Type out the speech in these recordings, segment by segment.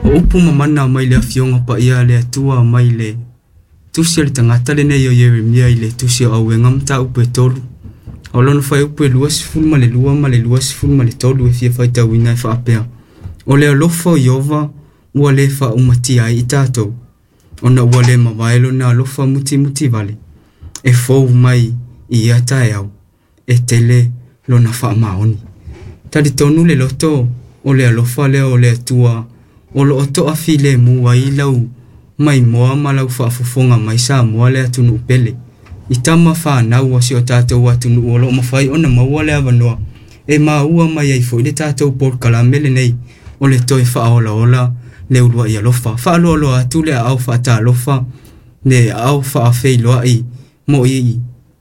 O upu ma mana mai le Afioga Paia a le Atua mai le Tusi a le tagata lenei o Ieremia i le Tusi o Auega mataupu e 3. O lona fuaiupu e 22 ma le 23 e fia faitauina e faapea, O le alofa o Ieova ua le faaumatia ai i tatou, ona ua le mavae lona alofa mutimutivale, e fou mai i ia taeao, e tele lona faamaoni. Talitonu le loto o le alofa lea o le Atua o lo o toafilemu ai lau maimoa ma lau faafofoga mai Samoa le atunuu pele. I tama fanau a si o tatou atunuu o lo o mafai ona maua le avanoa e maua mai ai foi le tatou polokalame lenei o le toe faaolaola le uluai alofa. Faaloaloa atu le aao faatalofa, le aao faafeiloai mo i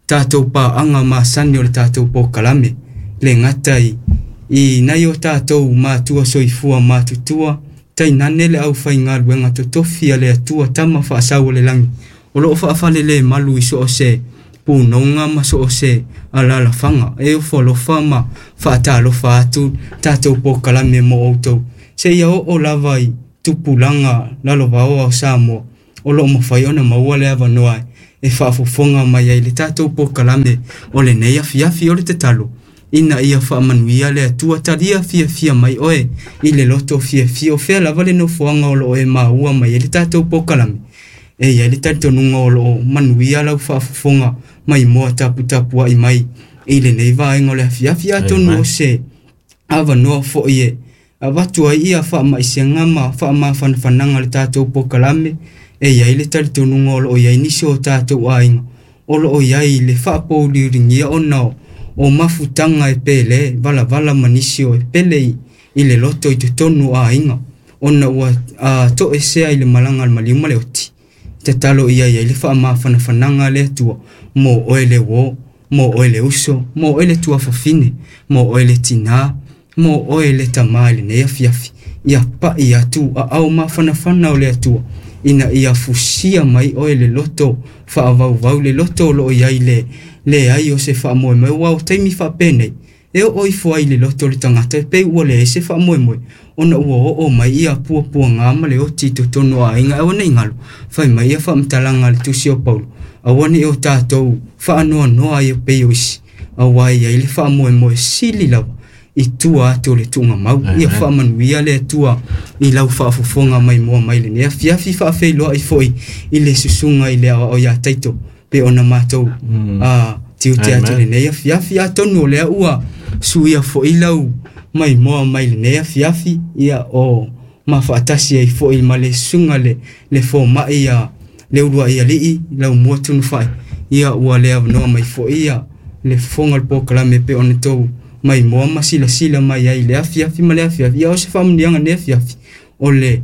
tatou paaga masani o le tatou polokalame, le gata i nai o tatou matua soifua matutua, tainane le aufaigaluega totofi a le Atua Tama faasau o le lagi, o lo o faafalelemalu i so o se punoga ma so o se alalafaga. E ofo alofa ma faatalofa atu tatou polokalame mo outou, seia oo lava i tupulaga lalovaoa o Samoa, o lo o mafai ona maua le avanoa e faafofoga mai ai le tatou polokalame o lenei afiafi. O le tatalo ina ia faamanuia le Atua, talia fiafia mai oe i le loto fiafia, o fea lava le nofoaga o lo o e maua mai ai le tatou polokalame. E i ai le talitonuga o lo o manuia lau faafofoga maimoa taputapuai mai i lenei vaega o le afiafi. Atonu o se avanoa foi e avatu ai ia faamaisega ma faamafanafanaga le tatou polokalame. E i ai le talitonuga o lo o i ai nisi o tatou aiga o lo o i ai le faapouliuligia ona o mafutaga e pele valavala ma nisi o e pele i le loto i totonu o aiga, ona ua toesea i le malaga a le maliu ma le oti. Tatalo ia i ai le faamafanafanaga a le Atua mo oe le uo, mo oe le uso, mo oe le tuafafine, mo oe le tinā, mo oe le tamā i lenei afiafi. Ia pai atu aao mafanafana o le Atua ina ia fusia mai oe le loto faavauvau, le loto o lo o i ai le leai o se faamoemoe. Aua o taimi faapenei e oo ifo ai le loto o le tagata e pei ua leai se faamoemoe, ona ua oo mai ia puapuaga ma le oti i totonu o aiga. Aua ne i galo, fai mai ia faamatalaga a le Tusi o Paulo, aua ne i o tatou faanoanoa ai e pei o isi, aua e i ai le faamoemoe sili lava i tua atu o le tuugamau. Ia faamanuia le Atua i lau faafofoga maimoa mai lenei afiafi. Faafeiloai foi i le susuga i le aoao ia Taito pe ona matou tiute atu lenei afiafi. Atonu o lea ua suia foi lau maimoa mai lenei afiafi, ia o mafaatasi ai foi ma le susuga le fomai ia le uluai alii lau mua tunufai, ia ua le avanoa mai foi ia le fofoga o le polokalame pe ona tou maimoa ma silasila mai ai le afiafi ma le afiafi. Ia o se faamanuiaga nei afiafi o le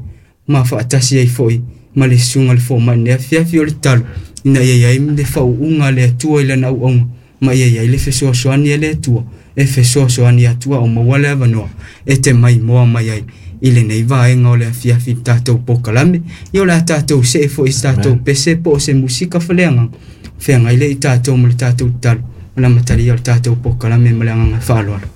mafaatasi ai foi ma le susuga le fomai nei afiafi. O le tatalo ina ia i ai le faauuga a le Atua i lana auauna, ma ia i ai le fesoasoani a le Atua e fesoasoani atu a o maua le avanoa e te maimoa mai ai i lenei vaega o le afiafi i le tatou polokalame. Ia o le a tatou see foi i se tatou pese po o se musika faleagaga feagai lea i tatou ma le tatou tatalo ma le amatalia o le tatou polokalame ma le agaga faaaloalo.